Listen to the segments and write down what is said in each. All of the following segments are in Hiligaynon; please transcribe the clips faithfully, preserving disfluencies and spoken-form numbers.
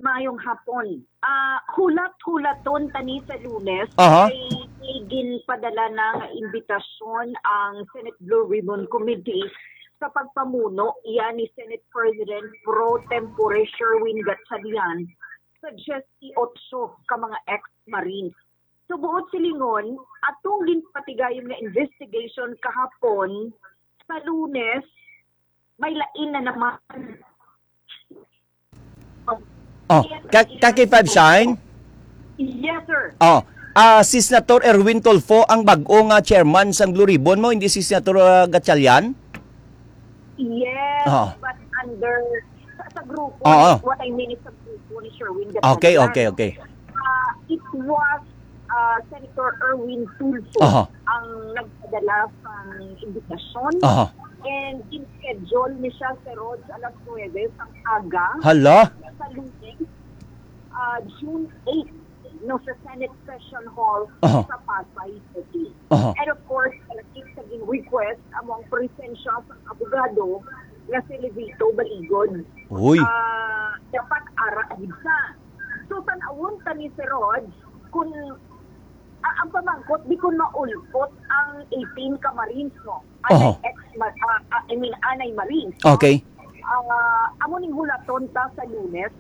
Mayong hapon. Ah, hulat-hulaton tani sa Lunes Aha. Kay may ginpadala na nga imbitasyon ang Senate Blue Ribbon Committee sa pagpamuno iya ni Senate President pro tempore Sherwin Gatchalian sa diyes y otso ka mga ex-Marines. Sa buot silingon, atong ginpatigayon nga investigation kahapon, sa Lunes, may lain na naman. Oh, ka, ka K five Shine? Yes, sir. Oh, ah, si Senator Erwin Tulfo ang bag-o nga chairman sang Blue Ribbon mo, hindi si Senator, ah, Gatchalian? Yes, Ah. But under sa, sa grupo, Oo. What I mean is sa grupo ni Sherwin Gatchalian. Okay, okay, okay. Uh, it was uh, Senator Erwin Tulfo Aha. Ang nagpadala sang imbitasyon. Aha. And in-schedule ni siya, Sir Rog, alas nuwebe sang aga Hala? Sa Lunes, uh, June eight, no, sa Senate Session Hall Aha. Sa Pasay City. Aha. And of course, palakip sa gin-request amo ang presensya sa abogado nga si Levito Baligod. Uy. Ah, dapat ara gid sa. So, tan-awon ta ni Sir Rog kung, ah, ang pamangkot, di kung maulpot ang eighteen ka Marines, no? Anay Oho. Ex, ah, ah, I mean, anay Marines, no? Okay. Ah, amo ning hulaton ta sa Lunes.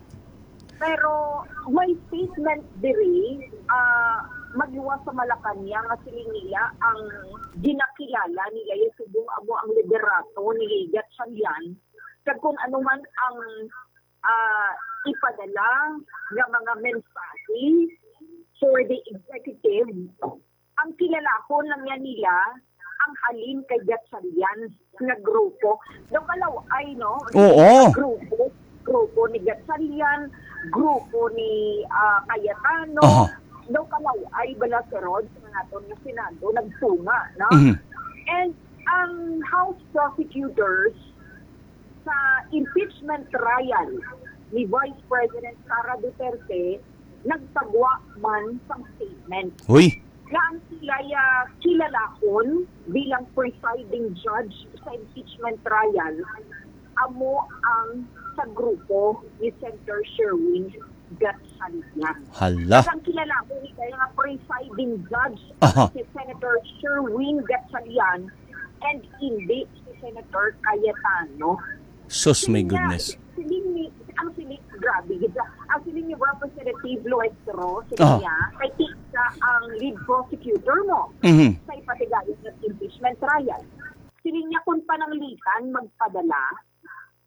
Pero may statement diri, ah, magiwas sa Malacañang nga siling nila ang ginakilala nila yung subong amo ang liderato ni Gatchalian. Kag kung ano man ang ah, ipadala nga mga mensahe for the executive, ang kilalahon lang yan nila ang halin kay Gatchalian nga grupo. Daw kalaw-ay, no? Oo. Grupo, grupo ni Gatchalian, grupo ni, ah, Cayetano. Aha. Daw kalaw-ay bala si Rog sa naton nga Senado nagtunga, no? Mhm. And ang House prosecutors sa impeachment trial ni Vice President Sara Duterte nagpagwa man sang statement Uy. Nga ang sila'y, ah, kilalahon bilang presiding judge sa impeachment trial amo ang sa grupo ni Senator Sherwin Gatchalian. Hala. Ang kilalahon ni kaya nga presiding judge Aha. Si Senator Sherwin Gatchalian and hindi si Senator Cayetano. Sus, my Siling niya, goodness. Siling ni, ang siling, grabe, gid siya. Ang siling ni Representative Luestro, siling Ah. niya, kay siya ang lead prosecutor mo Mhm. Sa ipatigayon ng impeachment trial. Siling niya kung pananglitan magpadala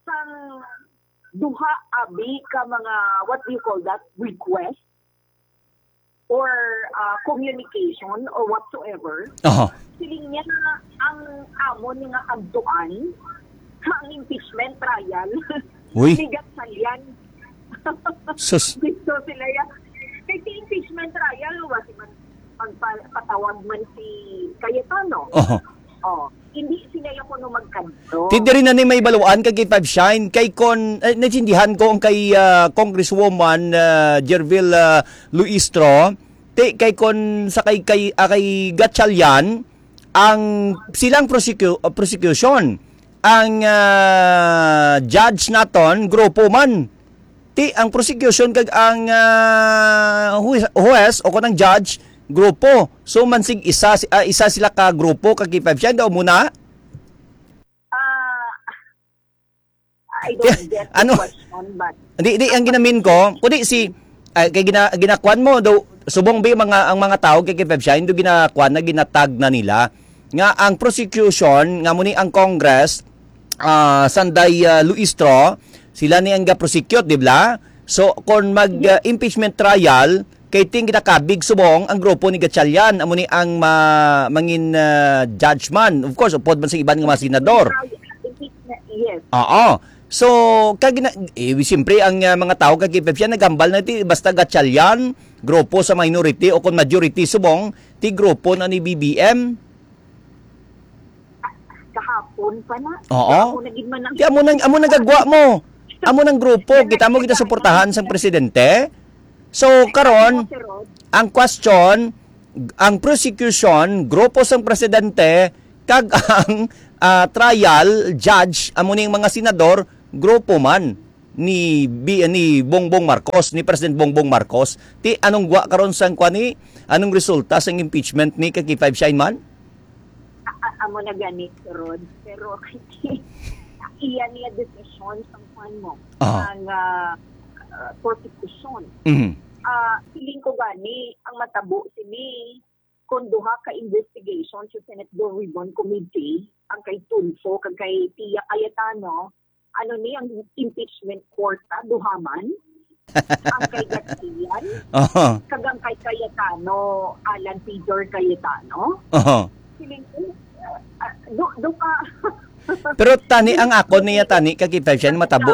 sang duha abi ka mga, what do you call that, request or, ah, communication or whatsoever. Aha. Siling niya na ang amon nga agtuan, ang impeachment trial Uy. Ni Gatchalian. Sus. Gusto sila ya. Kay si impeachment trial, wala si man magpatawag man si Cayetano. Aha. Oh, hindi sila ya kuno magkadto. Ti diri na ni may baluan kay K five Shine, kay kon, eh, naintindihan ko ang kay, ah, Congresswoman, ah, Gerville, ah, Luistro, ti kay kon sa kay, kay, ah, kay Gatchalian, ang silang prosecu-, ah, prosecution, ang, ah, judge naton, grupo man. Ti ang prosecution kag ang, ah, huwes, huwes o kon ang judge, grupo. So, mansig isa, si- ah, isa sila ka grupo, ka K five Shine, daw muna? Ah, I don't get the Ano? Question, but Di, di, ang ginamin ko, kundi si, ah, kay gina, ginakuan mo, daw, subong ba yung mga, ang mga tao kay K five Shine, do ginakuan na, ginatag na nila, nga ang prosecution, nga muni ang Congress, ah, Sanday, ah, Luistro, sila ni ang ga-prosecute, di ba? So, kung mag, ah, impeachment trial, kay ting ginakabig subong ang grupo ni Gatchalian, amo ni ang ma-, mangin, ah, judge man. Of course, upod man sa iban nga mga senador. Yes. Oo. So, kag na, eh, siyempre, ang, ah, mga tao kag K five Shine naghambal na ti, basta Gatchalian, grupo sa minority o kung majority subong, ti grupo na ni B B M. Kahapon pa na. Oo. Amo na gid man ang Di amo nang, amo nang gagwa mo. Amo nang grupo, kita mo, kita suportahan sang presidente. So, karon, ang question, ang prosecution, grupo sang presidente, kag ang, ah, trial judge, amo ning mga senador, grupo man. ni Bi-, ni Bongbong Marcos, ni President Bongbong Marcos. Ti anong gwa karon sang kwan ni, anong resulta sang impeachment ni ka K five Shine man? A-, a-, amo na gani, Rod. Pero iya niya desisyon sang kwan mo, Aha. ang, ah, ah, prosecution. Mhm. Ah, feeling ko gani, ang matabo sini, kung duha ka investigation sa Senate Blue Ribbon Committee, ang kay Tulfo kag kay Pia Cayetano, ano ni ang impeachment court, ah, duha man? Ang kay Gatchalian, Aha. kag ang kay Cayetano, Alan Peter Cayetano. Aha. Feeling ko, ah, ah, do, do ka. Pero tani ang akon niya tani kag K five Shine matabo.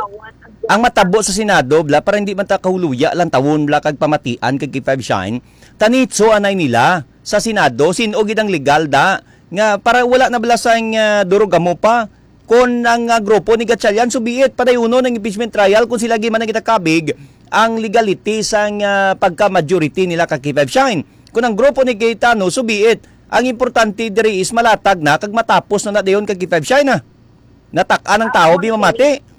Ang matabo sa Senado bla para hindi man ta kahuluya lang tawon bla kag pamatian kag K five Shine. Tanitso anay nila sa Senado sin-o gid ang legal da nga para wala na bala sang, ah, durog-amo pa. Kon ang, ah, grupo ni Gatchalian subiit padayunon ang impeachment trial kon sila gid man ang itakabig ang legality sang, ah, pagka-majority nila ka K five Shine. Kon ang grupo ni Cayetano subiit, ang importante diri is malatag na kag matapos na na dayon ka K five Shine, ah. Natak-an ang Ah, tawo, amo bi na mamati. Gani.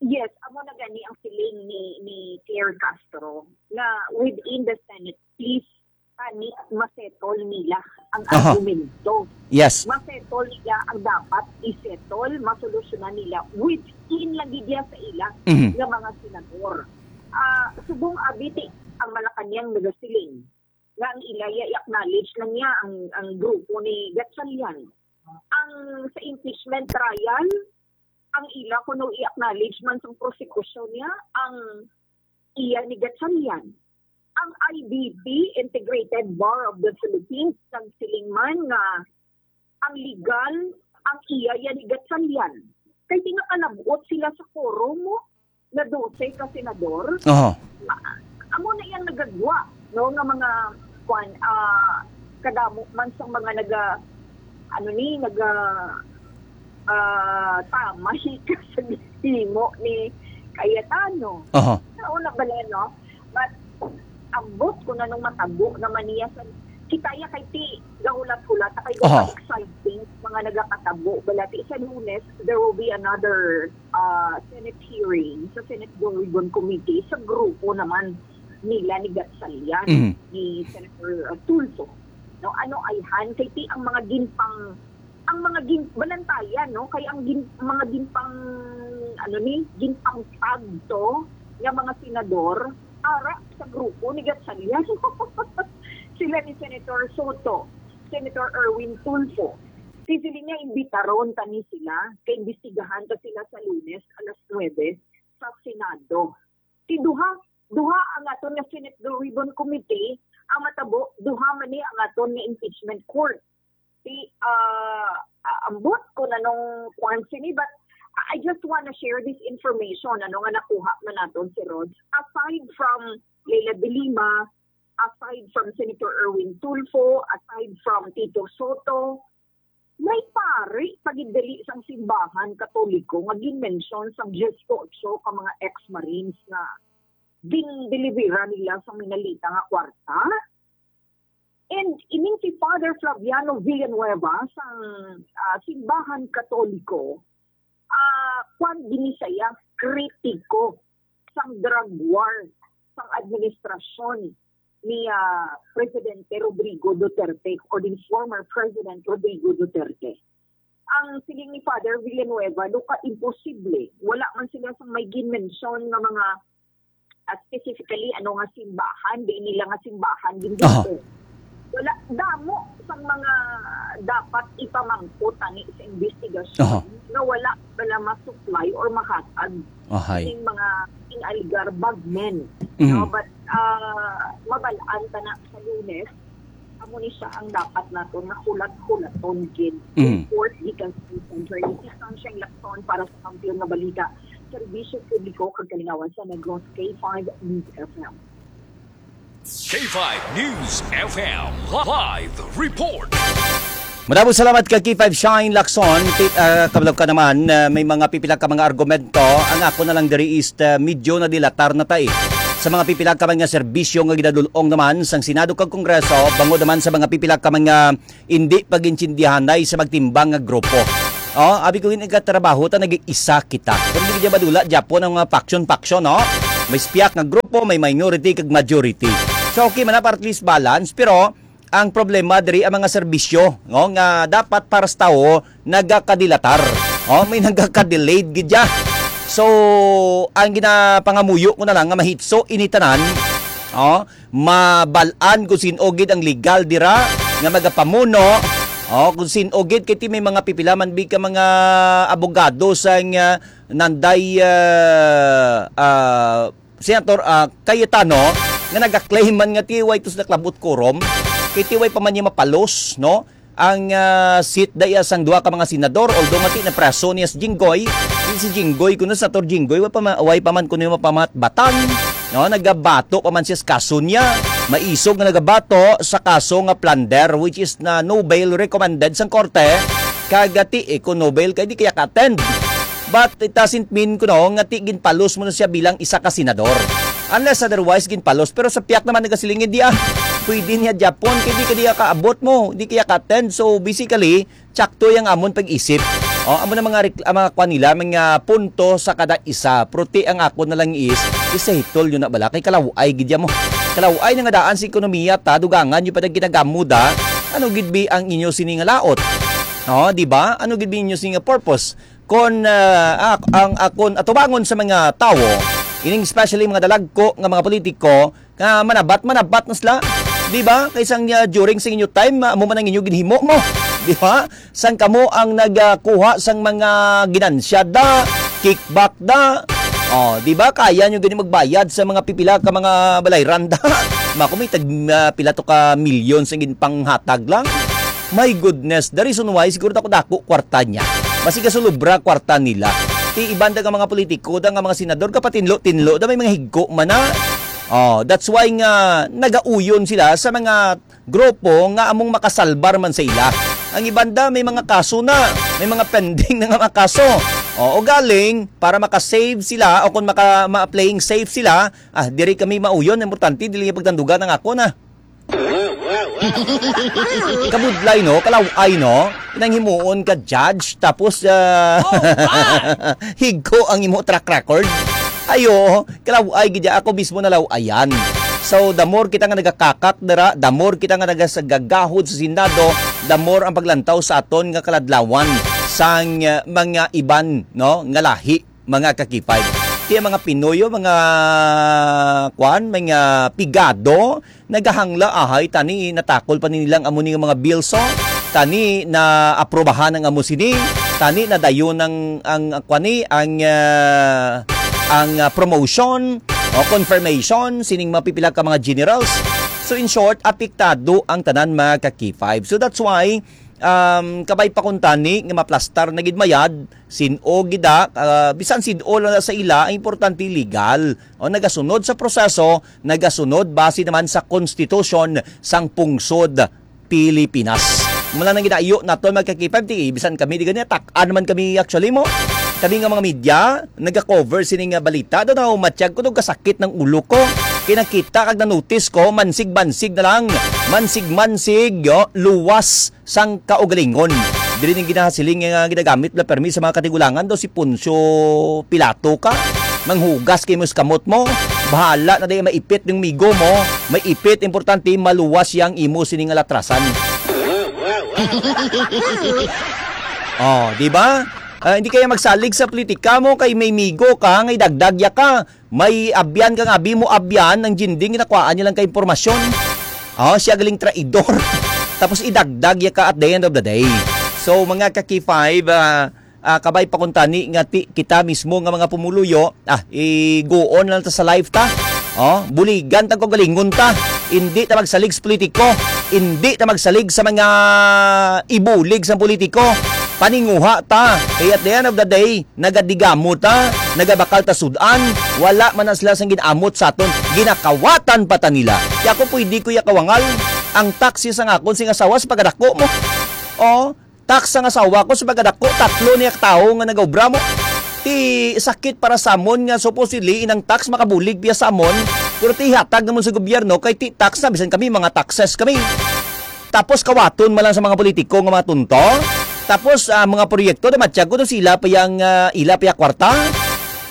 Yes, amo na gani ang feeling ni, ni Claire Castro nga within the Senate, please, tani masettle nila ang Aha. argumento. Yes. Masettle nila ang dapat isettle, masolusyonan nila within lang gid sa ila Mhm. nga mga senador. Ah, subong abi ti ang Malacañang nagasiling nga ang ila iya i-acknowledge lang niya ang, ang grupo ni Gatchalian. Ang sa impeachment trial, ang ila kuno i-acknowledge man sang prosekusyon niya, ang iya ni Gatchalian. Ang I B P, Integrated Bar of the Philippines, nagsiling man nga ang legal, ang iya yan ni Gatchalian. Kay di nga kalabot sila sa quorum mo, na dose ka senador. Oho. Ma-, amo na yang nagagwa, no, nga mga, kwan, ah, kadamo man sa mga naga-, ano ni, naga-, ah, tamay ka sa gihimo ni Cayetano. Oho. Sa una bala, no? But, ambot ko na nung matabo naman niya sa, kita ya kay ti, gahulat-hulat, kay Oho. Exciting, mga nagakatabo, bala ti sa Lunes, there will be another, ah, Senate hearing sa Senate Blue Ribbon Committee sa grupo naman nila ni Gatchalian, Mhm. ni Senator, uh, Tulfo. No, ano ayhan kay ti ang mga ginpang, ang mga gin-, balantayan, no, kay ang gin-, mga ginpang, ano ni, ginpangtag to nga mga senador ara sa grupo ni Gatchalian. Sila ni Senator Soto, Senator Erwin Tulfo. Si sila niya imbitaron tani sila kay imbestigahan ta sila sa Lunes alas nuebe sa Senado. Ti duha, duha ang aton nga Senate Blue Ribbon Committee, ang matabo, duha man ni ang aton nga impeachment court. Ti, ah, ah, ambot ko na nung kwan sini, but I just wanna share this information, ano nga nakuha man naton si Rod. Aside from Leila de Lima, aside from Senator Erwin Tulfo, aside from Tito Soto, may pari pa gid dali sang simbahan Katoliko nga ginmensyon sang dieciocho ka mga ex-Marines nga gindelibera nila sang minalita nga kwarta. And ining si Father Flaviano Villanueva sang, ah, simbahan Katoliko, ah, kwan gini siya, kritiko sang drug war sang administrasyon ni, ah, Presidente Rodrigo Duterte or ni former President Rodrigo Duterte. Ang siling ni Father Villanueva, "Luka, imposible. Wala man sila sang may ginmensyon nga mga, ah, specifically ano nga simbahan, di nila nga simbahan, Aha. Ginoo." Wala, damo sang mga dapat ipamangkot tani sa investigasyon Aha. nga wala, wala ma-supply or mahatag Ahay. Ning mga ing-aligar bagmen, Mhm. no? But, ah, mabal-an ta na sa Lunes, amo ni siya ang dapat naton nga hulat-hulaton gid. Mhm. Report gikan sa Center ni Sunshine Lacson para sa Kampiyon nga Balita, Serbisyo Publiko kag Kalingawan sa Negros, K five News F M. K five News F M live report. Madamo salamat ka K five Shine Lacson. Ti-, ah, kabalo ka naman, ah, may mga pipila ka mga argumento. Ang ako na lang diri is, ah, medyo nadilatar na ta, eh. Sa mga pipila ka mga serbisyo nga ginadul-ong naman sang Senado kag Kongreso, bangod naman sa mga pipila ka mga hindi pag-intindihanay sa magtimbang nga grupo. Oh, abi ko gid nagatrabaho ta, nag-iisa kita. Pero di gid madula gyapon ang mga faction-faction, no? May spiak nga grupo, may minority kag majority. So, okay man na, para at least balance, pero ang problema diri ang mga serbisyo, no, nga dapat para sa tawo nagakadilatar. Oh, may nagakadelayed gid ya. So, ang ginapangamuyo ko na lang nga mahitso ini tanan, oh, mabal-an kung sin-o gid ang legal dira nga magapamuno, oh, kung sin-o gid, kay ti may mga pipila man bi ka mga abogado sang, ah, nanday, ah, ah, Senator, ah, Cayetano, nga nagaklaim man nga ti way to sila klabot quorum, kay ti way pa man niya mapalos, no? Ang, ah, seat da iya sang duha ka mga senador, although nga ti na preso niya si Jinggoy, si, si Jinggoy, kuno, Senator Jinggoy, way pa man, way pa man kuno yung mapamatbatan, no? Nagabato pa man siya sa kaso niya, maisog nga nagabato sa kaso nga plunder, which is na no bail recommended sang korte, kag ti, eh, kung no bail kay di kaya ka-attend. But it doesn't mean, kuno, nga ti ginpalos mo na siya bilang isa ka senador. Unless otherwise, ginpalos. Pero sa piyak naman nagasiling, hindi ah. Pwede niya Japon, kay di ka diya kaabot mo, di kaya ka-attend. So, basically, tsakto yung amon pag-isip. O, amo na mga, rek- ang mga kwan nila, mga punto sa kada isa. Pero ti ang ako na lang is, isahitol yun na bala. Kay kalaway, gidya mo. Kalaway na nga daan sa ekonomiya, ta, dugangan yung pa ginagamod, ah. Ano gid bi ang inyo sini nga laot? O, di ba? Ano gid bi inyo sini nga purpose? Kon, ah, ak- ang akon atubangon sa mga tawo, ining especially mga dalagko nga mga politiko, nga manabat, manabat na sila. Di ba? Kay sang, ah, during sa inyo time, ah, amo man ang inyo ginhimo mo. Di ba? Sang kamo ang nagkuha sang mga ginansya da, kickback da. O, di ba? Kaya nyo gani magbayad sa mga pipila ka mga balayran da. Mako may tag, ah, pila to ka milyon sa ginpanghatag lang. My goodness, the reason why siguro dako-dako kwarta niya. Basi gasulubra kwarta nila. Ti iban da nga mga politiko, da nga mga senador, kapatinlo-tinlo, da may mga higko man na. Oh, that's why nga nagauyon sila sa mga grupo nga among makasalbar man sa ila. Ang iban da may mga kaso na, may mga pending na nga mga kaso. O, o galing, para makasave sila o kung maka, ma-playing safe sila, ah, diri kami mauyon, importante, dili niya pagtandugan ang ako na. Kabudlay, no? Kalaway, no? Nang himuon ka judge, tapos, ah, Oh, God! Higko ang imo track record. Ayo, kalaway gid ako mismo nalawayan. So, the more kita nga nagakakak dira, the more kita nga nagasagagahod sa Senado, the more ang paglantaw sa aton nga kaladlawan sang, ah, mga iban, no, nga lahi, mga kakipay. Kaya mga Pinoy, mga kwan, mga pigado, nagahangla ahay, tani natakol pa ni nilang amo ni nga mga bills, oh. Tani na aprobahan ang amo sini, tani na dayon ang, ang kwan ni, ang, ah, ang, ah, promotion o confirmation sining mapipila ka mga generals. So in short, apektado ang tanan, mga ka-K five. So that's why, um, kabay pa kuntani nga maplastar na gid mayad, sin-o gid, ah, ah, bisan sin-o lang sa ila, ang importante legal. O nagasunod sa proseso, nagasunod base naman sa konstitusyon sang pungsod Pilipinas. Mula nang ginaiyo naton, mga ka-K five, ti bisan kami di gani, tak-an naman kami actually mo. Kami nga mga media, naga-cover sini nga balita, daw naumatyag ko, daw kasakit ng ulo ko. Kinakita kag na-notice ko, mansig-mansig na lang, mansig-mansig, yo, luwas sang kaugalingon. Diri ning ginahasiling nga ginagamit la permi sa mga katigulangan daw si Poncio Pilato ka. Manghugas kay mo sa kamot mo. Bahala na di maipit yung migo mo. May ipit, importante, maluwas yang imo sini nga latrasan. Oh, di ba? Ah, hindi kaya magsalig sa politika mo kay may migo ka, nga idagdag ya ka. May abyan kang abi mo, abyan ang Jinding, ginakwaan niya lang ka impormasyon. Oh, siya galing traidor. Tapos idagdag ya ka at the end of the day. So, mga ka-K five, ah, ah, kabay pa kuntani nga ti, kita mismo nga mga pumuluyo, ah, iguon na lang ta sa life ta. Oh, buligan ta ko galingon ta. Hindi ta magsalig sa politiko. Hindi ta magsalig sa mga ibulig sa politiko. Paninguha ta. Kay at the end of the day, nagadigamo ta, nagabakal ta sud-an, wala man na sila sang ginamot sa aton, ginakawatan pa ta nila. Kaya ako pwede ko ya kawangal, ang taxes ang akon sing asawa sa pagkadako mo. Oh, tax ang asawa ko sa pagkadako, tatlo niya ka tawo nga nagaobra mo. Ti sakit para sa amon nga supposedly inang tax makabulig biya sa amon, pero ti ihatag namon sa gobyerno kay ti tax na, bisan kami mga taxes kami. Tapos kawaton man lang sa mga politiko nga mga tunto. Tapos, ah, mga proyekto na matyago na sila pa yang, ah, ila pa ya kwarta.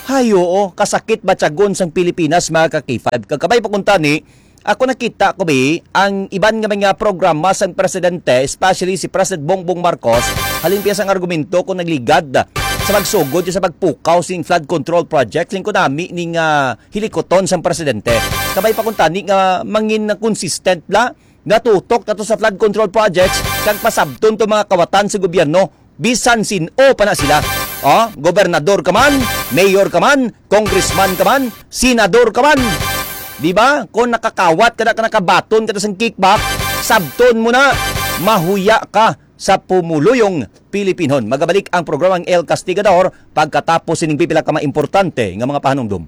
Hay, oo, kasakit matyagon sang Pilipinas, mga ka-K five. Kag kabay pa kuntani, ako nakita ko, bi, ang iban nga mga programa sang presidente, especially si President Bongbong Marcos, halin pa sang argumento kung nagligad sa pagsugod sa pagpukaw sing flood control project, lingkod nami ning, ah, hilikuton sang presidente. Kabay pa kuntani nga mangin na consistent la, natutok na to sa flood control projects, kag pasabton to mga kawatan sa gobyerno, bisan sin-o pa na sila. Oh, gobernador ka man, mayor ka man, congressman ka man, senador ka man. Di ba? Kung nakakawat ka na, ka nakabaton ka na sang kickback, sabton mo na, mahuya ka sa pumuluyong Pilipinhon. Magabalik ang programang El Castigador pagkatapos sining pipila ka mga importante nga mga pahanumdom.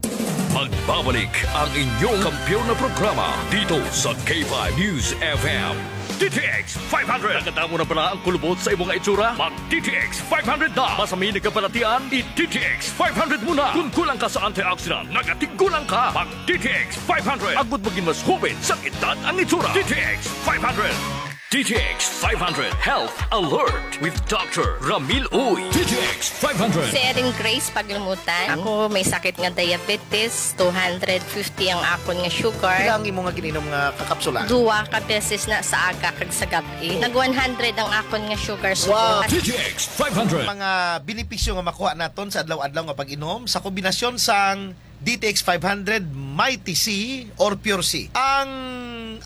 Magbabalik ang inyong kampiyon na programa dito sa K five News F M. D T X five hundred. Nakadamo na bala ang kulubot sa imong itsura? Mag D T X five hundred na. Mas may nagkabalatian, i D T X five hundred mo na. Kung kulang ka sa antioxidant, nagatigulang ka. Mag D T X five hundred. Agud maging mas hubit sa edad ang itsura. D T X five hundred. D T X five hundred Health Alert with Doctor Ramil Uy. D T X five hundred. Si Erin Grace Paglumutan. Ako may sakit nga diabetes, two hundred fifty ang akon nga sugar. Pila ang imo nga gininom nga kakapsula? Duwa ka beses na sa aga kag sa gab-i. Nag one hundred ang akon nga sugar. Wow. D T X five hundred. Mga benepisyo nga makuha naton sa adlaw-adlaw nga pag-inom sa kombinasyon sang D T X five hundred, Mighty C, or Pure C. Ang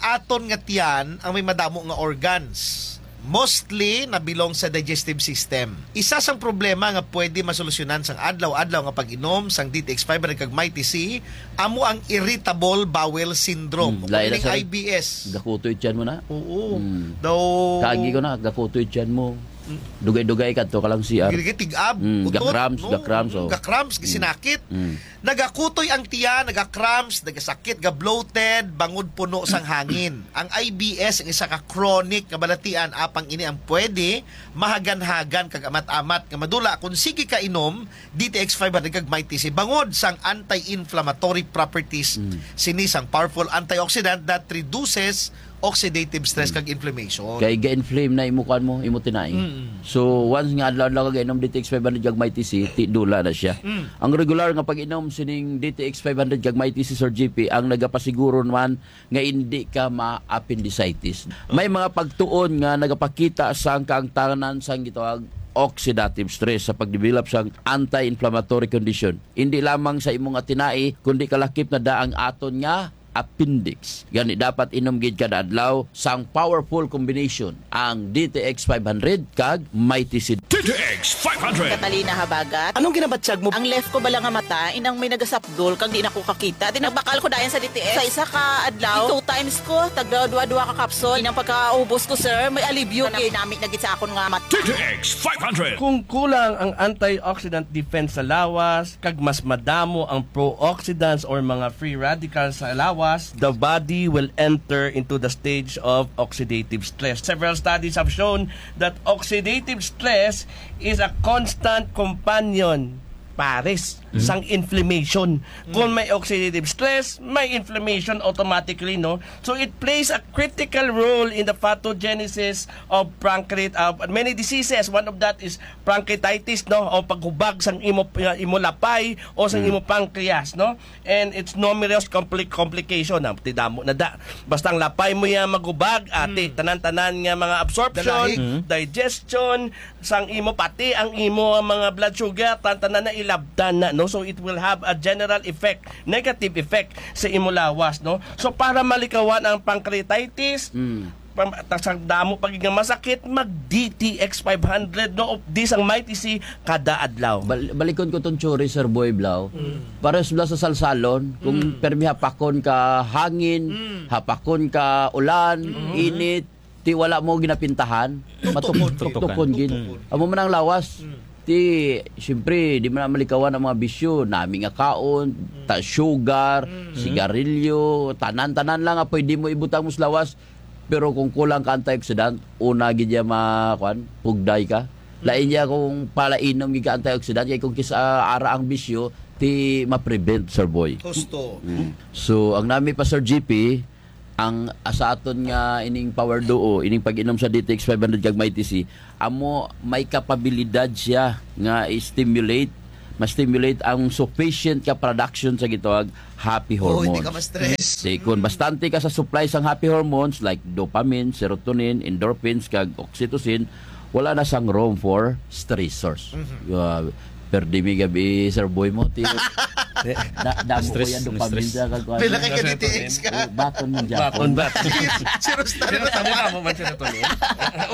aton nga tiyan ang may madamo nga organs. Mostly nabilong sa digestive system. Isa sang problema nga pwede masolusyonan sang adlaw-adlaw nga pag-inom sang D T X five hundred kag Mighty C amo ang irritable bowel syndrome, Hmm, o lain na, kining sir. I B S. Gakutoy tiyan mo na. Oo. Hmm. Daw Kagi ko na, gakutoy tiyan mo. Mm. Dugay-dugay ka to ka lang C R. Gid tig-ab, Mm, utot, ga-cramps, no? Ga-cramps, Mm, oh. Ga-cramps, Mm. gisinakit. Mm. Nagakutoy ang tiyan, naga-cramps, nagasakit, ga-bloated, bangod puno sang hangin. Ang I B S ang isa ka chronic nga balatian, apang ini ang pwede mahagan-hagan kag amat-amat nga madula kung sige ka inom D T X five hundred kag Mighty C bangod sang anti-inflammatory properties Mm. sini sang powerful antioxidant that reduces oxidative stress Mm. kag inflammation. Kay ga-inflame na imo kuan mo, imo tinai. Mm. So, once nga adlaw-adlaw ka gainom D T X five hundred kag Mighty C, ti dula na siya. Mm. Ang regular nga pag-inom sining D T X five hundred kag Mighty C, Sir G P, ang nagapasiguro naman nga hindi ka ma-appendicitis. May mga pagtuon nga nagapakita sang kaangtanan sang gitawag oxidative stress sa pagdevelop sang anti-inflammatory condition. Hindi lamang sa imo nga tinai, kundi kalakip na da ang aton nga appendix. Gani, dapat inom gid kada adlaw sang powerful combination ang D T X five hundred kag Mighty C. D T X five hundred. Catalina Habagat. Anong ginabatyag mo? Ang left ko bala nga mata, inang may nagasapdol, kag di na ko kakita. Di nagbakal ko dayon sa D T X. Sa isa ka adlaw, two times ko, tagda duha-duha ka kapsul. Inang pagkaubos ko, sir, may alibyo. Nami-nami na gid sa akon nga mata. D T X five hundred. Kung kulang ang antioxidant defense sa lawas, kag mas madamo ang pro-oxidants or mga free radicals sa lawas, the body will enter into the stage of oxidative stress. Several studies have shown that oxidative stress is a constant companion, pares, Mhm. sang inflammation. Kung may oxidative stress, may inflammation automatically, no? So, it plays a critical role in the pathogenesis of pancreat-, uh, many diseases. One of that is pancreatitis, no? O paghubag sang imo, uh, imo lapay o sang Mm. imo pancreas, no? And it's numerous compli-, complication. Ah, ti damo na da. Basta ang lapay mo yan maghubag, ati, Mm. tanan-tanan nga mga absorption, Dalahi. Mm. digestion, sang imo, pati ang imo mga blood sugar, tan-, tanan na ilabtan na, no? So, it will have a general effect, negative effect sa imo lawas, no? So, para malikawan ang pancreatitis, Mm. pam-, ta-, sa damo pa gid nga masakit, mag D T X five hundred, no? O di sang Mighty C kada adlaw. Bal-, balikon ko tong theory, Sir Boy Blau. Mm. Pares bala sa salsalon, kung Mm. permi hapakon ka hangin, Mm. hapakon ka ulan, Mm. init, ti wala mo ginapintahan, Tuktukon. matuk-, tuktukon gid. Tuktukon. Amo man ang lawas. Mm. Ti, siyempre, di man na malikawan ang mga bisyo, nami nga kaon, Mm. ta-, sugar, Mm. sigarilyo, tanan-tanan lang nga pwede mo ibutang mo sa lawas. Pero kung kulang ka antioxidant, una gid ya ma-, kuan, pugday ka. Lain ya kung palainom gid ka antioxidant, kay kung kis-, ah, ara ang bisyo, ti ma-prevent, Sir Boy. Husto. Mm. So, ang nami pa, Sir G P, Ang, ah, sa aton nga ining Power Duo, ining pag-inom sa D T X five hundred kag Mighty C, amo may kapabilidad siya nga i-stimulate, ma-stimulate ang sufficient ka production sa gitawag happy hormones. Oh, hindi ka ma-stress. Di, kung bastante ka sa supply sang happy hormones like dopamine, serotonin, endorphins, kag oxytocin, wala na sang room for stressors. Mhm. Uh, perdi mi gabi, Sir Boy mo, ti-, na, damo ko stress, yan, dopamine stress. Sa kag-, Pila kay ka Stress D T X ka? Oh, baton man dyan. Baton, baton. Zero star. Zero star, wala mo man serotonin.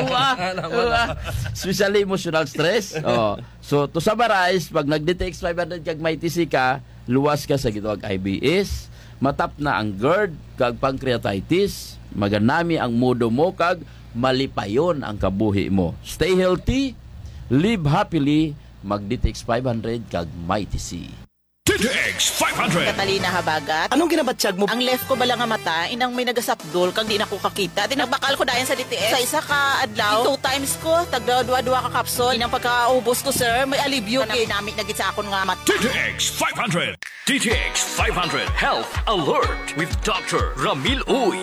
Uwa, Wala mo uwa. na. Especially emotional stress. Oh. So, to summarize, pag nag-D T X five hundred kag Mighty C ka, luwas ka sa gitawag I B S, matap na ang gerd kag pancreatitis, maganami ang mudo mo kag malipayon ang kabuhi mo. Stay healthy, live happily, mag-D T X five hundred kag Mighty C. D T X five hundred. Catalina Habagat. Anong ginabatyag mo? Ang left ko bala nga mata, inang may nagasapdol, kag di na ko kakita. Di nagbakal ko dayon sa D T X. Sa isa ka adlaw, two times ko, tagda dua-dua ka kapsul. Inang pagkaubos ko, sir, may alibyo, gid. Nami-nami na gid sa akon nga mata. D T X five hundred. D T X five hundred Health Alert with Doctor Ramil Uy.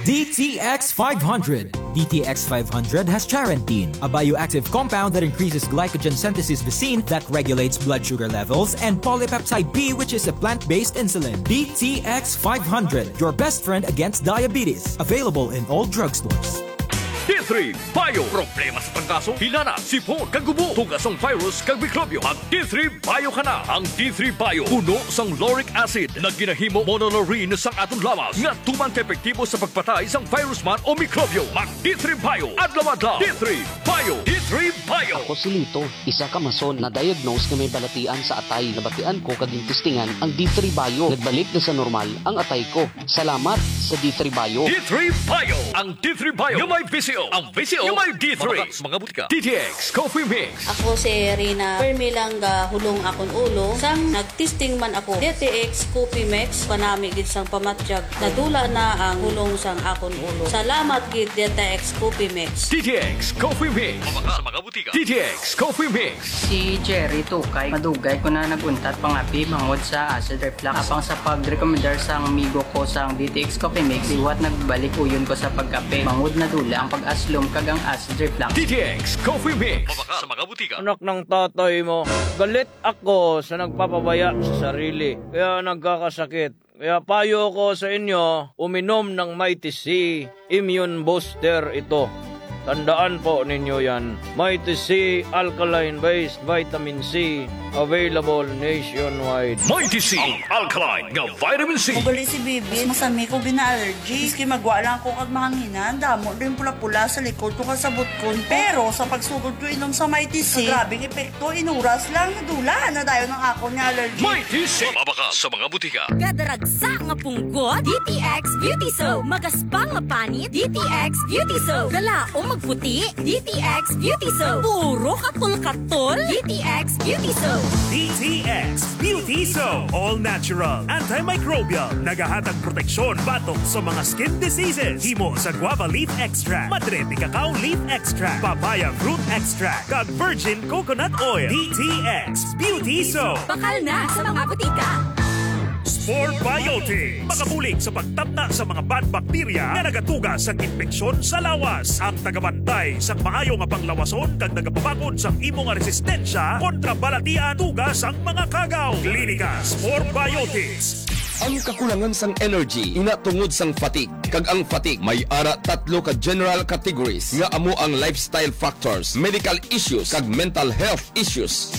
D T X five hundred. D T X five hundred has charantine, a bioactive compound that increases glycogen synthesis, visin, that regulates blood sugar levels, and polypeptide B, which is a plant-based insulin. D T X five hundred, your best friend against diabetes. Available in all drugstores. D three Bio. Problema sa trangkaso, hilanat, sipon, kag ubo. Tuga sang virus kag mikrobyo. Mag D three Bio ka na. Ang D three Bio puno sang lauric acid nga ginahimo monolaurin sang aton lawas nga tuman ka epektibo sa pagpatay sang virus man o mikrobyo. Mag D three Bio adlaw-adlaw. D three Bio. D three Bio. Ako si Lito, isa ka mason na diagnose nga may balatian sa atay. Nabatian ko kag gintistingan ang D three Bio. Nagbalik na sa normal ang atay ko. Salamat sa D three Bio. D three Bio. Ang D three Bio nga may V C O. Ang V C O nga may D three. Mabakal sa mga butika. D T X Coffee Mix. Ako si Rina. Permi lang gahulong akon ulo. Sang nagtesting man ako, D T X Coffee Mix, panami gid sang pamatyag. Nadula na ang hulong sang akon ulo. Salamat gid, D T X Coffee Mix. D T X Coffee Mix. Mabakal sa mga butika. D T X Coffee Mix. Si Jerry Tukay, madugay ko na nag-untat pangapi bangod sa acid reflux. Apang sa pagrekomendar sang amigo ko sang D T X Coffee Mix, liwat nagbalik uyon ko sa pagkape. Bangod nadula ang pag-aslom kag ang acid reflux. D T X Coffee Mix. Mabakal sa mga butika. Anak ng tatay mo, galit ako sa nagpapabaya sa sarili, kaya nagkakasakit. Kaya payo ko sa inyo, uminom ng Mighty C, immune booster ito. Tandaan po ninyo yan. Mighty C alkaline-based vitamin C, available nationwide. Mighty C, ang alkaline nga vitamin C. Ugali si Bibi, masami ko gina-allergy. Miski magwa lang ko kag mahanginan, damo din pula-pula sa likod ko kag sa butkon ko. Pero sa pagsugod ko inom sa Mighty C, grabe ang epekto, inuras lang, nadula na dayon ang akon nga allergy. Mighty C, mabakal sa mga butika. Kadaragsa nga punggot, D T X Beauty Soap. Magaspang nga panit, D T X Beauty Soap. Galaom magputi, D T X Beauty Soap. Puro katol-katol, D T X Beauty Soap. D T X Beauty Soap. All natural, antimicrobial. Nagahatag proteksyon batok sa mga skin diseases. Himo sa guava leaf extract, madre de cacao leaf extract, papaya fruit extract, kag virgin coconut oil. D T X Beauty Soap. Bakal na sa mga butika. Spore Biotics. Makabulig sa pagtapna sa mga bad bacteria nga nagatuga sang impeksyon sa lawas. Ang tagabantay sang maayo nga panglawason kag nagapabakod sang imo nga resistensya kontra balatian tuga sang mga kagaw. Klinika Spore Biotics. Ang kakulangan sang energy, ina tungod sang fatigue, kag ang fatigue may ara tatlo ka general categories nga amo ang lifestyle factors, medical issues, kag mental health issues.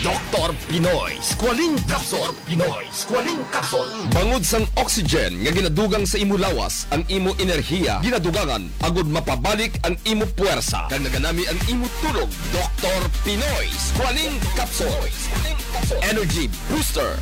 Doktor Pinoy Squalene Capsule. Pinoy Squalene Capsule. Bangod sang oxygen nga ginadugang sa imo lawas, ang imo enerhiya ginadugangan agud mapabalik ang imo puwersa, kag naganami ang imo tulog. Doktor Pinoy Squalene Capsule. Energy Booster.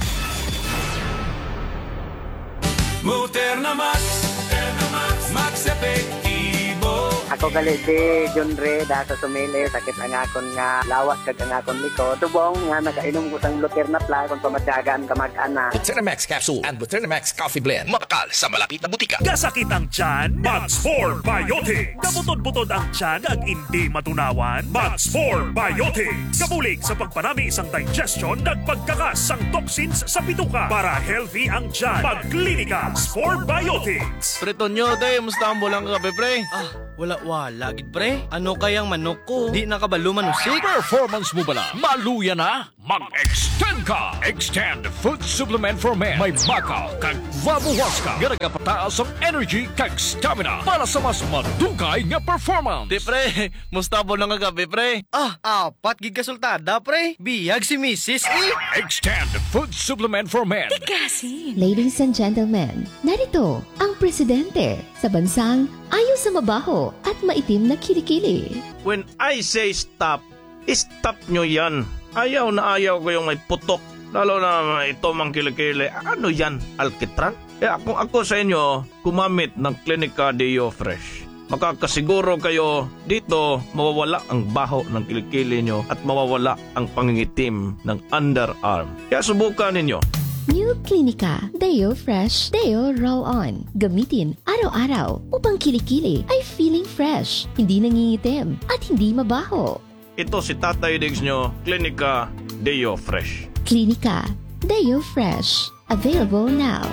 Moderna Max. Moderna Max. Max epektibo. Ako gali si John Ray, da sa Sumili, sakit ang akon nga lawas kag ang akon likod. Subong nga nakainom ko sang Luterna Plus, kung pamatyagan ka mag-ana. Buterna Max capsule and Buterna Max coffee blend. Mabakal sa malapit na butika. Kasakit ang tiyan? Mag Spore Biotics. Kabutod-butod ang tiyan ag indi matunawan? Mag Spore Biotics. Kabulig sa pagpanami sang digestion kag pagkakas sang toxins sa bituka para healthy ang tiyan. Mag Klinika Spore Biotics. Pre Tonyo, te, musta ang bulang kagabi, pre? Ah, wala-wala gid, pre. Ano kay ang manok ko? Di na kabalo manusik. Performance mo bala? Maluya na? Mag-extend ka! Extend Food Supplement for Men. May baka kag guabuhas ka nga nagapataas ang energy kag stamina para sa mas madugay nga performance. Di, pre, musta ang bulang kagabi, pre? Ah, apat gid ka sultada, pre. Biyag si misis, eh. Extend Food Supplement for Men. Ladies and gentlemen, narito ang presidente sa bansang ayaw sa mabaho at maitim na kilikili. When I say stop, stop nyo yan. Ayaw na ayaw ko yung may putok. Lalo na ito mang kilikili. Ano yan? Alkitran? Kaya kung ako sa inyo, gumamit ng Klinika Deo Fresh. Makakasiguro kayo dito mawawala ang baho ng kilikili nyo at mawawala ang pangingitim ng underarm. Kaya subukan ninyo. New Klinika Deo Fresh Deo Roll On. Gamitin araw-araw upang kilikili ay feeling fresh, hindi nangingitim, at hindi mabaho. Ito si Tatay Diggs nyo, Klinika Deo Fresh. Klinika Deo Fresh. Available now.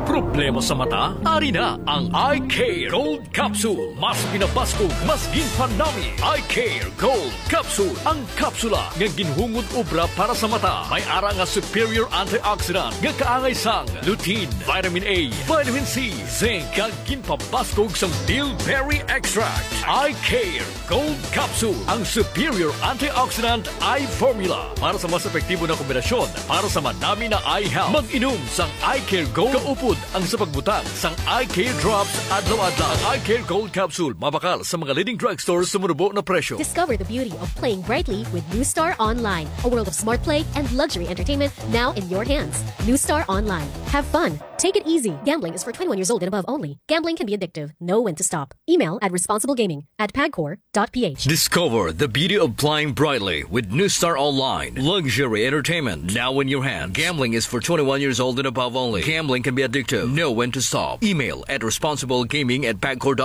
Problema sa mata? Ari na ang Eye Care Gold Capsule. Mas pinabaskog, mas ginpanami. Eye Care Gold Capsule. Ang kapsula nga ginhungod obra para sa mata. May ara nga superior antioxidant nga kaangay sang lutein, vitamin A, vitamin C, zinc, kag ginpabaskog sang bilberry extract. Eye Care Gold Capsule, ang superior antioxidant eye formula para sa mas epektibo na kombinasyon para sa madami na eye health. Mag-inom sang Eye Care Gold kaupod ang sa pagbutang sang Eye Care Drops adlaw-adlaw. Ang Eye Care Gold Capsule mabakal sa mga leading drugstore sa manubo na presyo. Discover the beauty of playing brightly with New Star Online, a world of smart play and luxury entertainment now in your hands. New Star Online. Have fun. Take it easy. Gambling is for twenty-one years old and above only. Gambling can be addictive. Know when to stop. Email at responsiblegaming at pagcor dot p h. Discover the beauty of playing brightly with New Star Online. Luxury entertainment now in your hand. Gambling is for twenty-one years old and above only. Gambling can be addictive. Know when to stop. Email at responsiblegaming at pagcor dot p h.